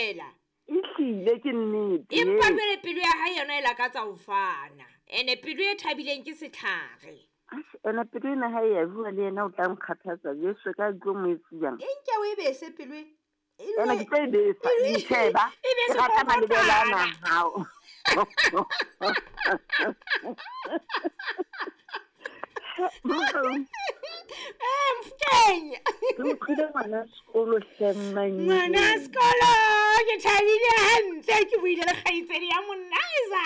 fela. Ehlile ke nnete. Empa jwale pelo ya hae yona e lakatsa ho fana. Ene pelo e thabileng ke setlhare. Ene pelo ena ha e ya bua le yena o tla nkgathatsa Jesu ka tlo mo etsiyang. E nke o e bese pelo e. Ena ke tlo e besa, itsheba. E bese Ke rata malebela ana kokotana. hao. Eh, Mofokeng. Ke utlwile ngwana sekolo hle mmanyeo. Ngwana sekolo, ke thabile hantle ke buile le kgaitsedi ya Monaiza.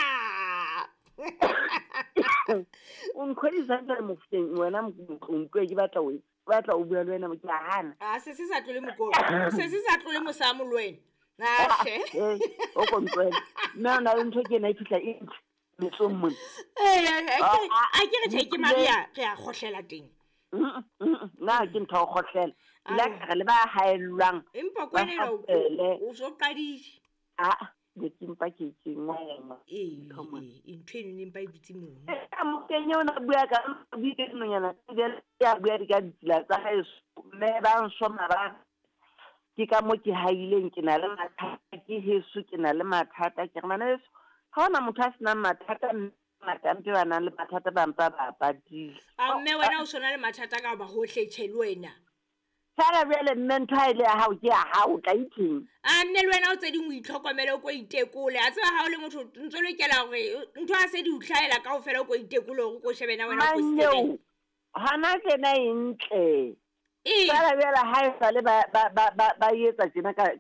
O nkgodisa jwale Mofokeng wena Motloutloe ke batla o batla o bua le wena ke a hana. A se se sa tlole mokolo. Se se sa tlole mosamo le wena. Ahle. Eh, o ko ntlohele. Mme o na le ntho ke ena e fihla e ntle metsong mona. Eh, a ke re tjhe ke Maria re a kgohlela teng. Nna ke ntho ya ho kgohlela. Ke la ka re le ba haellwang. Empa Ba kwana ena hapele. o so qadile. Ah, ne ke mpa ke ke ngwaya. Ee, Ntho mona. ee, ntho eno ne mpa e dutse mono. Ka Mofokeng eo na bua ka bua ka dinonyana tse ya bua di ka ditsela tsa haeso. Mme ba nsoma ba ke ka mo ke haileng ke na le mathata ke heso ke na le mathata ke re bana beso ha hona motho a senang mathata mme ngata mpe ba nang le mathata ba mpa ba patile. A mme wena o sona le mathata ka hoba hohle tjhe le wena. Fela jwale mme ntho ha e le ya hao ke ya hao o tla itheng. A mme le wena o tse ding o itlhokomele o ko itekole. A tseba ha o le motho ntso lokela hore ntho ha se di o hlahela kaofela o ko itekole hore o ko shebe na wena o fositse kae. Manyeo hona tjena e ntle. Ee. Fela jwale ha e sale ba etsa tjena ka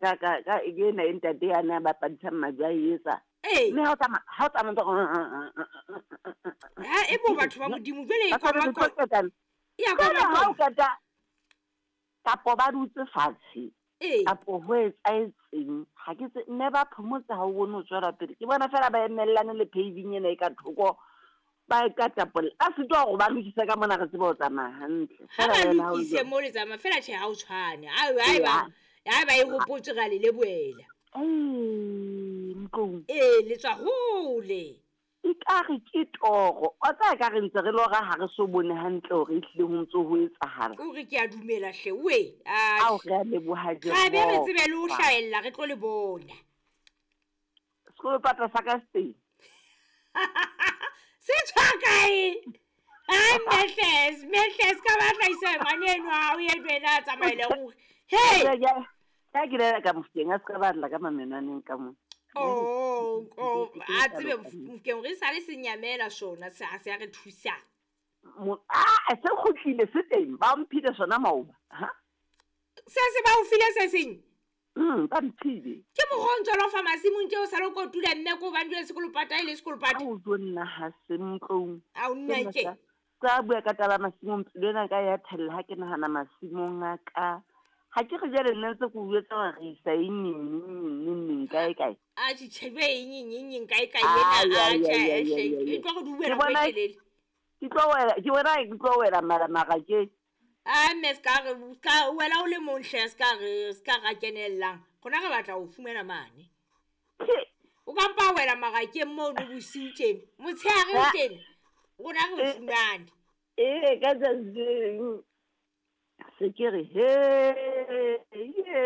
ena e ntate yane a bapadisang majwe a e etsa. Ee. Mme ha o tsamaya ha o tsamaya ntse Ha e bo batho ba Modimo jwale e Ba koma tshwanetse ko ho qetana. Ya Jwale koma ha o koma. qeta kapo ba dutse fatshe. Ee. Kapo ho etsahetseng ha ke tse mme ba phomotse ha o bone ho tswela pele. Ke bona fela ba emellane le paving ena e ka thoko ba e ka tapolla. Ba sitwa hore ba lokise ka mona re tsebe ho tsamaya hantle. Ha Fela ba jwale ha o lokise jwalo. mo le tsamaya fela tjhe ha o tshwane. Haeba haeba e hopotswe ra le lebohela. Ee, Motloung. Ee, le tswa hole. Ekare ke toro. Wa tseba ekare ntse re lora ha re so bone hantle hore ehlile ho ntso ho etsahala. O re ke a dumela hle we. Ao re a leboha Ra be re Jehova. tsebe le ho hlahella re tlo le bona. Sekolopata sa ka se teng. Se tswa kae? Ai Mehles, Mehles ka ba hlahisa ngwaneno ha o ye wena a tsamaele ruri. Hey! Ka ke lela ka Mofokeng a se ka ba lla ka mamenwaneng ka mona. Oh, oh, a tsebe Mofokeng re sale se nyamela sona se a se a re thusa. Se kgutlile se teng ba mphile sona maoba. Ha? Se se ba o file se seng? Ba mphile. Ke mokgwa o ntso lo fa masimong tje o sale o kotula mme ko hobane jwale sekolopata e le sekolopata. Ao jo nna ha se Motloung. Ao nna ke. Ka bua ka taba masimong pelo ena ka ya thella ha ke nahana masimong a ka. Ha ke re jwale nna ntse ke o jwetsa hore re isa eng neng neng neng neng kae kae. A tjhe tjhe jwe eng eng eng eng kae kae Ai, ena, a ai, tjhe, ai, ai, hle, ai, ai, e tlo re Ke duela nako e bona telele. ke tlo wela, ke bona ke tlo wela mara marakeng. A mme ska re ska wela o le mong hle ska re ska ra kenellang. Rona re batla ho fumana mane. O ka mpa wela marakeng mono bosiu tjena. Motshehare Ha. tjena. Rona re o Eh. fumane. Ee, ka tsatsi le leng se ke re he ye.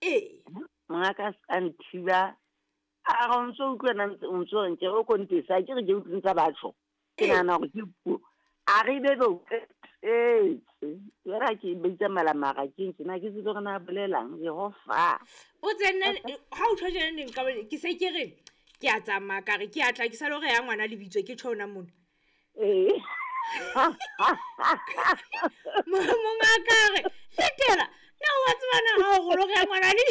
Ee. Mongaka a ska nthiba. A re o ntso utlwa na ntse o ntso reng ke re o ko ntesa ke re ke utlwe ntsa batho. Ke Ee. nahana hore ke puo. A re be be o qetetse. Jwale ha ke bitsa mala marakeng tjena ke tsebe hore na bolelang Jehova. O tsene ha o tjho tjena neng ka ke se ke re ke a tsamaya ka re ke a tla ke sa le hore ya ngwana lebitso ke tjho hona mona. Ee. Mongaka a re letela na wa tseba na ha o re lo re ya ngwana le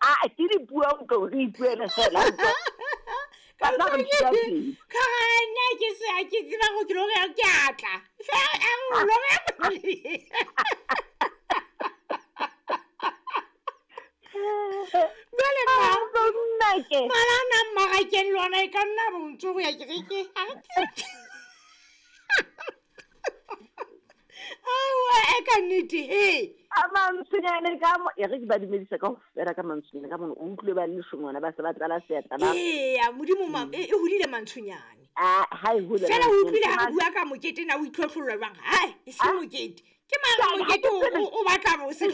Ah, ke dipuo o tlo re ipuele fela. Ka Ka tla re utlwa ntshwa ke pele. ka re nna ke se ha ke tseba hore ke lo re ya ke a tla. Fela a re o lo re ya ngwana le- Jwale ma Nna ke. mala ana mmarakeng le ona e ka nna bo ntso ho ya kerekeng. Ha re tsebe. Aowa e ka nnete he. A mantshonyane ka mo e re ke ba dumedisa kaofela ka mantshonyane ka mona o utlwile ba le leshome ba se ba tlala seatla ba. Eya Modimo ma e hodile mantshonyane. Ah, ha e hole Fela o mantshonyane. utlwile ha re bua ka mokete na o itlhotlholla jwang? Hai, e se Ah. mokete. Ke mang mokete o batla bo se